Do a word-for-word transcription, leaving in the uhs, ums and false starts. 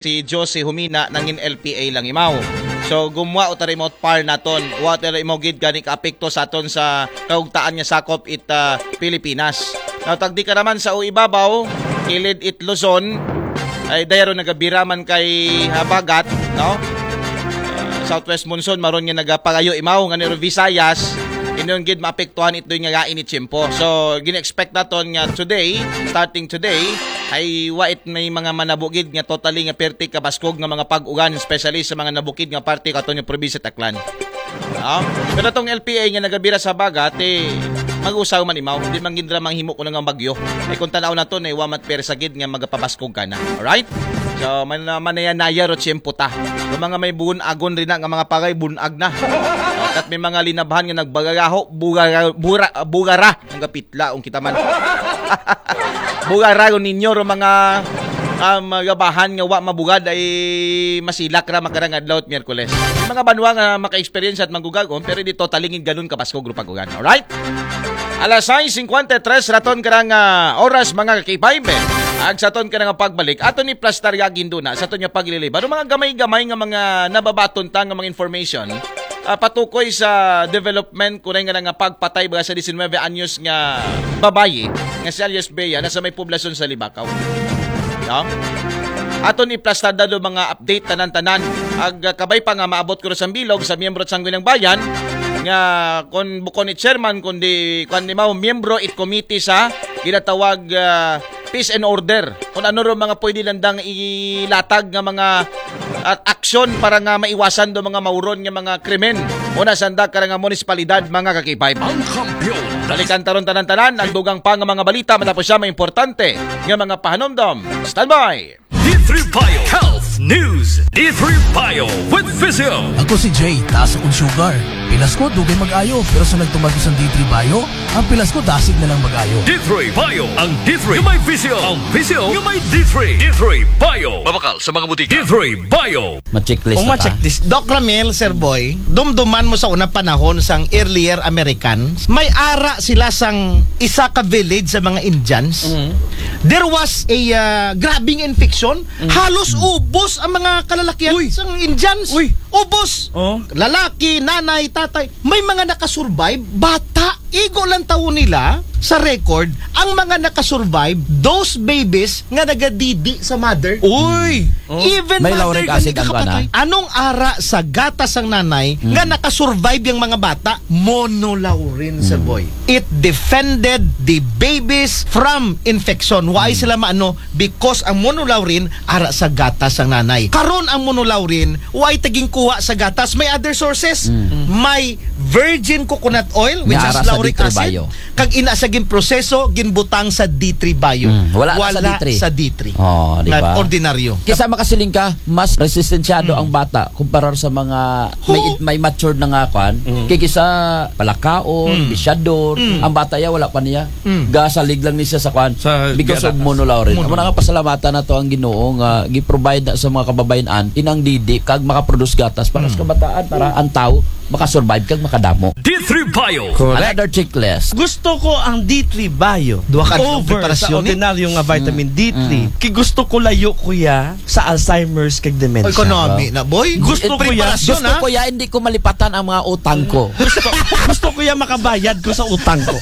si Josie Humina nangin L P A lang imaw. So gumuha o tara imaw par naton. Wa tara imaw gid gani kaapekto sa aton sa kaugtaan nga sakop it ah, Pilipinas. Now tagdi ka naman sa uibabaw, kilid it Luzon, ay dayaro nagabiraman kay habagat, no? Ah, southwest monsoon maron nga nagapagayo imaw nga niro Visayas, inon gid maapektuhan ito nga gain ni tiyempo. So gini-expect naton nga today, starting today, ay wa it may mga manabugid nga totally nga perti kabaskog nga mga pag-ugan, especially sa mga nabukid nga parte katon nga probinsya Aklan. No? Pero tong L P A nga nagabira sa bagat, eh, mag-usaw man imaw, hindi man gindra manghimo ko nga bagyo. Ay kung tanaw na to, na iwamat persa gid nga magapabaskog ka na. Alright? So, man, manaya-naya ro tiyempo ta. Yung mga may buon agon rin na, nga mga pagay, bunag na. At may mga linabhan nga nagbagagaho, bugara, bura, bugara, ang gapitla, ang kita man. Bugara ro ninyo, ro mga um, gabahan nga wa mabugad ay masilak ra makarang adlaw at Miyerkules. Mga banwa nga maka-experience at magugagon, pero di totalingin ganun kabaskog ro pag-ugan. Alright? Alas sais singkwenta y tres raton karang ah, oras mga kakipaybe. Ag sa ton karang pagbalik, aton ni plastar ya ginduna sa ton nga pagliliba. Ano mga gamay-gamay nga mga nababaton ta nga mga information ah, patukoy sa development kunay nga nga pagpatay ba sa diecinueve anyos nga babayi nga si alias Bea na sa may poblasyon sa Libakaw. No? Aton iplastar do mga update tanan-tanan. Ag ah, kabay pa nga maabot ko sa bilog sa miyembro sa Sangguniang Bayan nga kon bukon ni chairman kundi kuan ni mao miyembro it committee sa ginatawag ah, peace and order. Kung ano ro mga pwede landang ilatag nga mga at aksyon para nga maiwasan do mga mauron nga mga krimen. Una sanda ka nga munisipalidad mga kakipay. Ang kampiyon. Balikan taron tanan-tanan ang dugang pa nga mga balita matapos siya may importante nga mga pahanumdom. Standby! D three Bio Health News. D three Bio with Physio. Ako si Jay, taas akong sugar. Pilas ko, dugay mag-ayo. Pero sa nagtumag isang D three Bio, ang pilas ko, dasig na lang mag-ayo. D three Bio. Ang D three yung may Physio. Ang Physio yung may D three. D three Bio. Mabakal sa mga butika. D three Bio. Ma-checklist Kung na ta. ma-checklist, Doc Ramil, Sir Boy, dumduman mo sa unang panahon sang earlier Americans, may ara sila sang isa ka village sa mga Indians. There was a uh, grabing infection. Halos ubos ang mga kalalakihan Uy. sang Indians. Uy. Ubos. Oh. Lalaki, nanay, tatay. May mga nakasurvive, bata. Igo lang tawo nila sa record ang mga nakasurvive, those babies nga nagadidi sa mother. Uy! Oh. Even May mother lauric nga acid hindi ang kapatay. kana. Anong ara sa gatas ng nanay nga nakasurvive yung mga bata? Monolaurin, Sir Boy. It defended the babies from infection. Why sila maano? Because ang monolaurin ara sa gatas ng nanay. Karon ang monolaurin, why taging kuha sa gatas? May other sources. May virgin coconut oil, which Nga has ara sa lauric D three acid. Bio. Kag ina sa ginproseso, ginbutang sa D three Bio. Mm, wala na sa D three. Sa D three. Oh, di Nga ba? ordinaryo. Kisa makasiling ka, mas resistensyado ang bata kumpara sa mga may, may matured na nga kwan. Kay kisa palakaon, bisyador, ang bata ya wala pa niya. Gasalig lang ni siya sa kwan Sa because of gatas. monolaurin. Amo Mono. Na nga pasalamatan na to ang Ginoo nga gi-provide na sa mga kababayan inang didi kag makaproduce gatas para sa kabataan para ang tao makasurvive kag makadamo. D three Bio. Correct. Another checklist. Gusto ko ang D three Bio. Duha ka Over preparasyon, sa eh. Ordinaryo nga vitamin D three. Kay gusto ko layo ko ya sa Alzheimer's kag dementia. Economy na, boy. Gusto ko ya. Preparasyon, Gusto ha? ko ya, hindi ko malipatan ang mga utang ko. Gusto ko ya makabayad ko sa utang ko.